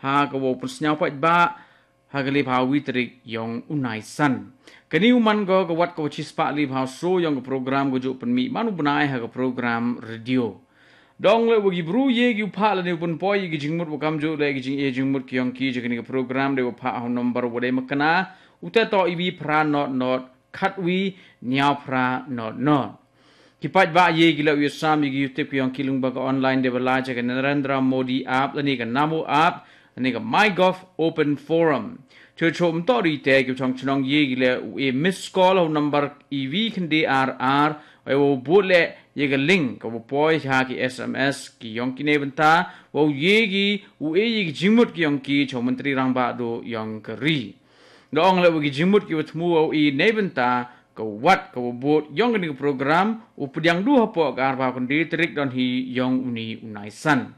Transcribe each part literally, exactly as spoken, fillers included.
ha ka wow pynsngew paidbah ha ka laiphew wi tarik yong u Naisan. Kani u man ko ka wat ka wa chispah laiphew so yong ka program ka juh pynmih man u bnai ha ka program radio. Dong le wa ki bru ye ki u phah lane u pynpoi ye ki jingmut wa kamjuh le ki jing e jingmut ki yong ki jingkani ka program de wa phah ha u number wa de makana u te to iwi phra not not khatwi nyaw phra not not. Ki paidbah ye ki la u yasam ye ki u tip ki yong ki lung ba ka online de wa la ja ka Narendra Modi app lane ka Namo app lane ka MyGov Open Forum. Cho cho mto ri te ki chong chnong ye ki le u e miss call ha u number iwi khynde ar ar wa u bot le ye ka link ka wa poi ha ki S M S ki yong ki ne bynta wa u ye ki u e ye ki jingmut ki yong ki cho mantri rang ba do yong ka ri. Da ong le wa ki jingmut ki wa thmu wa u e ne bynta ka wat ka wa bot yong kani ka program u pdiang du hapoh ka arba khynde tarik don hi yong uni u Naisan.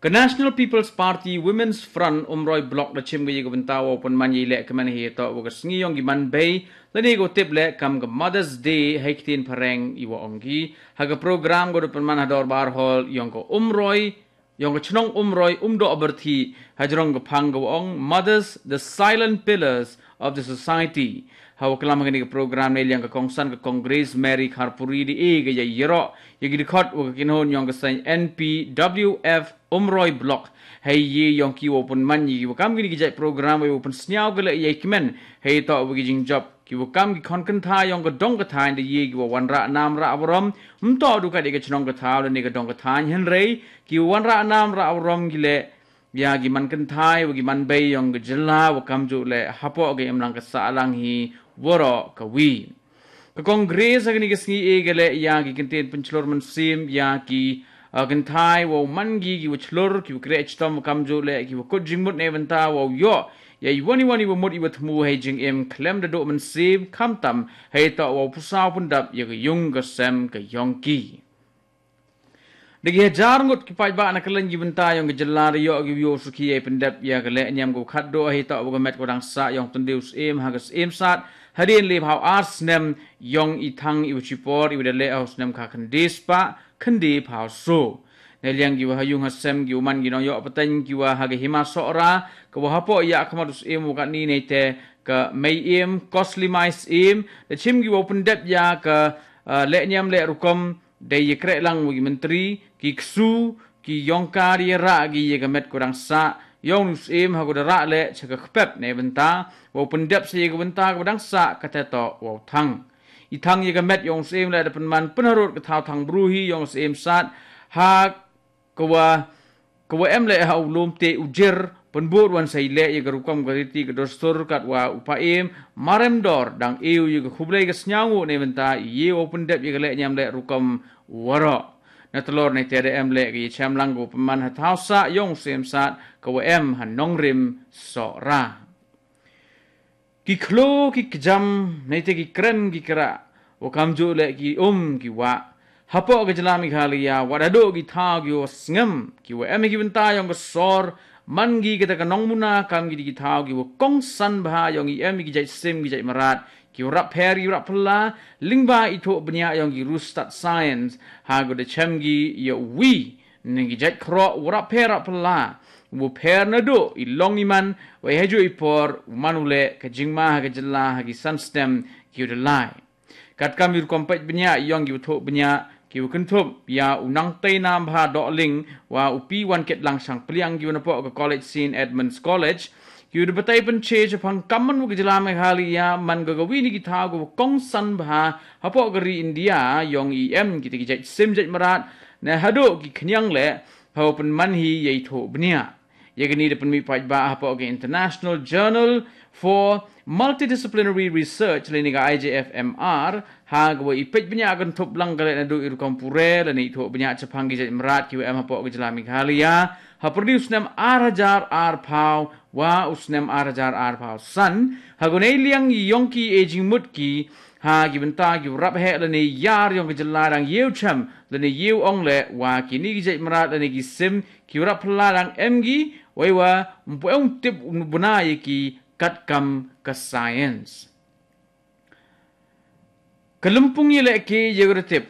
Ka National People's Party Women's Front Umroi Block da chim ka ye ka bynta wa u pynman ye le ka man hi to wa ka sngi yong ki man bei lane ka wa tip le kam ka Mother's Day hai ktien phareng i wa ong ki ha ka program ka da pynman ha Dorbar Hall yong ka Umroi yong ka chnong Umroi Umdoh Berthi ha jrong ka phang ka wa ong Mothers, the Silent Pillars of the Society. Ha wa klam ha kani ka program ne liang ka kongsan ka Congress Mary Kharpuri di e ka ya yero ya ki dkhot wa ka kinhon yong ka seng N P W F Umroi Block. Hei ye yong ki wa pynman ye ki wa kam kini ki jait program wa pyn sniaw ka le ye kmen hei to wa ki jingjop ki wa kam ki khon kynthai yong ka dong ka thaiñ da ye ki wa wan rah nam rah warom mto du ka de ka chnong ka thaw da ne ka dong ka thaiñ henrei ki wa wan rah nam rah warom ki le ya ki man kynthai wa ki man bei yong ka jylla wa kamjuh le hapoh ka imlang ka sahlang hi waroh ka wi. Ka Congress ha kani ka sngi e ka le ya ki kyntien pynchlur mynsiem ya ki kynthai wa man ki ki wa chlur ki wa kreh chitom wa kamjuh le ki wa kut jingmut ne bynta wa yoh ya i wani wani wa mut i wa thmu hei jingim khlem da duh mynsiem khamtam hei to wa pusaw pyndap ya ka yung ka sem ka yong ki. Da ki hajar ngut ki paidbah na kylleng ki bynta yong ka jylla da yoh ki wa yoh suki ya i pyndap ya ka leh niam ka wa khatduh hei to wa ka met ka wa dang sah yong tyndiw syiem ha ka syiem sat hadien le phaw ar snem yong i thang i wa chipor i wa da leh ha u snem ka khynde spah khynde phaw so. Ne liang ki wa ha yung ha sem ki wa man ki nong yoh pateng ki wa ha ka hima sohra ka wa hapoh ya ka mat u syiem wa ka ni ne te ka mei im kosli mai syiem da chim ki wa pyndap ya ka leh niam leh rukom dei ya kreh lang wa ki myntri ki ksu ki yong ka di ya rah ki ya ka met ka wa dang sah yong u syiem ha ka wa da rah leh cha ka kpep ne bynta wa pyndap sa ya ka bynta ka wa dang sah ka te to wa u thang. I thang ya ka met yong u syiem le da pynman pynharut ka thaw thang bru hi yong u syiem sat ha ka wa ka wa em le ha u lum te u jir pynbud wan sa i le ya ka rukom ka riti ka dustur kat wa u pa im marem dor dang eu ya ka khublei ka sniaw ngu ne bynta i ye wa pyndap ya ka le niam le rukom waroh. Na tlor ne te da em le ka ya chem lang ka wa pynman ha thaw sah yong u syiem sat ka wa em ha nongrim sohra. Ki khlo ki kjam nei te ki kren ki kra wa kamjuh le ki um ki wa hapoh ka jylla Meghalaya wa da duh ki thaw ki wa sngem ki wa em ki bynta yong ka sor man ki kata ka nongmuna kam ki di ki thaw ki wa kongsan bha yong i em ki jait sim ki jait marat ki wa rap pher ki wa rap phylla lyngba i thoh bniah yong ki rustat science ha ka da chem ki ya wi ne ki jait khroh wa rap pher rap phylla wa pher na duh i long i man wa i hajuh i por u man u le ka jingma ha ka jylla ha ki san stem ki u da lai. Kat kam i rukom peit bniah yong ki u thoh bniah ki u kynthup ya u nang tei nam bha doh ling wa u pi wan ket lang sang pliang ki u na poh ka college Saint Edmund's College ki u da batai pynche cha phang kam man wa ka jylla Meghalaya man ka ka wi ni ki thaw ka wa kongsan bha hapoh ka ri India yong i em ki te ki jait sim jait marat ne haduh ki khniang le ha wa pynman hi ya i thoh bniah. Ya kani da pynmih paidbah hapoh ka International Journal for Multidisciplinary Research lane ka I J F M R ha ka wa i peit bniah kan thup lang ka le na du i rukom pure lane i thoh bniah cha phang ki jait mrad ki wa em hapoh ka jylla Meghalaya ha pyrdi u snem ar hajar ar phaw wa u snem ar hajar ar phaw san ha ka nei liang i yong ki e jingmut ki ha ki bynta ki rap heh lane yar yong ka jylla dang yeu chem lane yeu ong le wa kini ki jait mrad lane ki sim ki rap phylla dang em ki wei wa mpu em tip buna ya ki kat kam ka science. Ka lympung ya le ki ya ka tip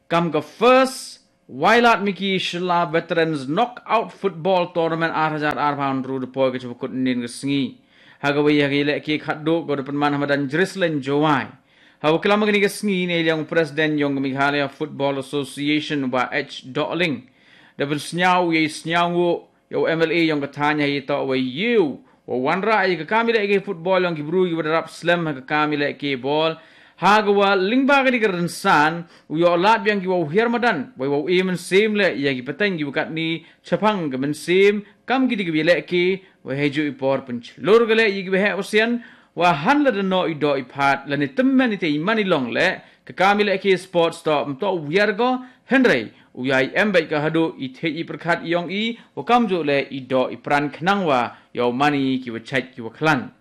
kam ka first Wailadmiki Shylla Veterans Knockout Football Tournament ar hajar arphew hynriew da poi ka jingpynkut ynnin ka sngi ha kawei ha ka ïalehke khatduh kaba da pynman ha madan Jrisleng, Jowai. Haba klam ha kane ka sngi, na liang u President yong ka Meghalaya Football Association, u Bah H Dohling, da pynsngew u ïa i sngewbha ïa u M L A yong ka thaiñ ha ïa toh wa ïew wa wanrah ïa ka kam ïalehke football yong ki bru kiwa da rap slem ha ka kam ïalehke ball. Ha kawa lyngba kane ka rynsan u ïoh lad biang ki wow hiar madan, wei wow e mynsiem leh ïa ki pateng kiwa katni chaphang ka mynsiem kam ki dei kiwa ïalehke, wei hei juh i por pynchlur ka leh ïa kiwa heh wa sian, wa hanlada noh i doh i phad lane tymmen itei i man i long leh, ka kam ïalehke sports toh ym toh u hiar ko, hynrei u ïai em beit ka haduh i thied i pyrkhat i yong i, wa kamjooh leh i doh i pran khnang wa ïa u man i kiwa chait kiwa khlan.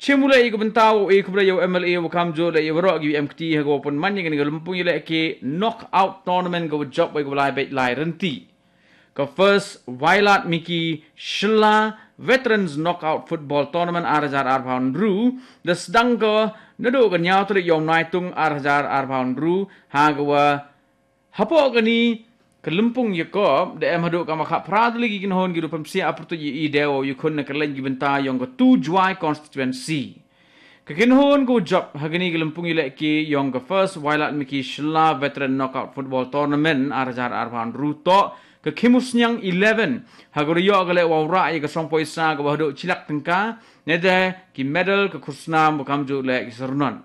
Chim u leh ïa ka bynta wow e khublei ïa u M L A wa kamjooh leh ïa waroh kiwa em kti ha kawa pynman ïa kane ka lympung ïalehke knockout tournament kawa jop wei kawa lai beit lai rynti. Ka First Wailadmiki Shylla Veterans Knockout Football Tournament ar hajar arphew hynriew da sdang ko naduh ka ynñiaw tarik yong u Naitung ar hajar arphew hynriew, ha kawa hapoh kani ka lympung ïakop da em haduh kamwa khatphra tylli ki kynhun kiwa da pynpsiah pyrtuid ïa i de wow ïakhun na ka leng ki bynta yong ka Tu Jowai Constituency. Ka kynhun kawa jop ha kani ka lympung ïalehke yong ka First Wailadmiki Shylla Veteran Knockout Football Tournament ar hajar arphew hynriew toh ka Khimusniang eleven, ha kawa da ïoh ka leh wow rah ïa ka song poisa kawa haduh chi lak tyngka, ne de ki medal, ka khusnam wa kamjooh leh ki syrnot.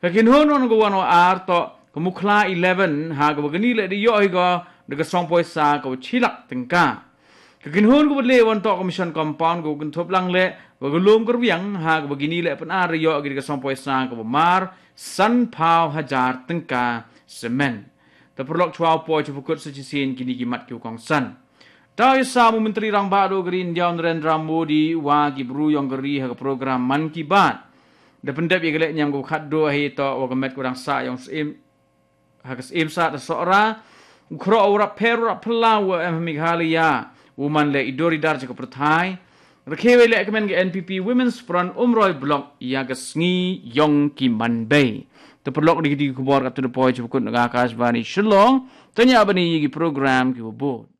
Ka kynhun wan kawa wan wa ar toh ka Mukhla eleven, ha kawa kani leh da ïoh hi ko da ka song poisa kawa chi lak tyngka. Ka kynhun kawa le wan toh ka Mission Compound kawa kynthup lang leh wa ka Lum Kyrwiang, ha kawa kini leh pyn-ar da ïoh ki da ka song poisa kawa mar sanphew hajar tyngka samen. Te paralok, chwa u poi chwa pynkut sa shisien kini ki mat kiwa kongsan. Te u ïasam u Myntri Rangbah duh ka ri India u Narendra Modi wa ki bru yong ka ri ha ka program Mann Ki Baat. Da pyndep ïa ka lehniam kawa khatduh ha ïa toh wa ka met kawa dang sah yong Syiem ha ka Syiem Sahd ha Sohra, u khroh u rap pher u rap phylla wa em ha Meghalaya, u man leh i dur i dar jong ka pyrthai. Rakhe wei lehkmen ka N P P Women's Front Umroi Block ïa ka sngi yong ki manbei. Te paralok, kine ki dei ki khubor katto katne poi chwa pynkut na ka Akashvani Shillong. Te ñiah bani ïa ki program kiwa bud.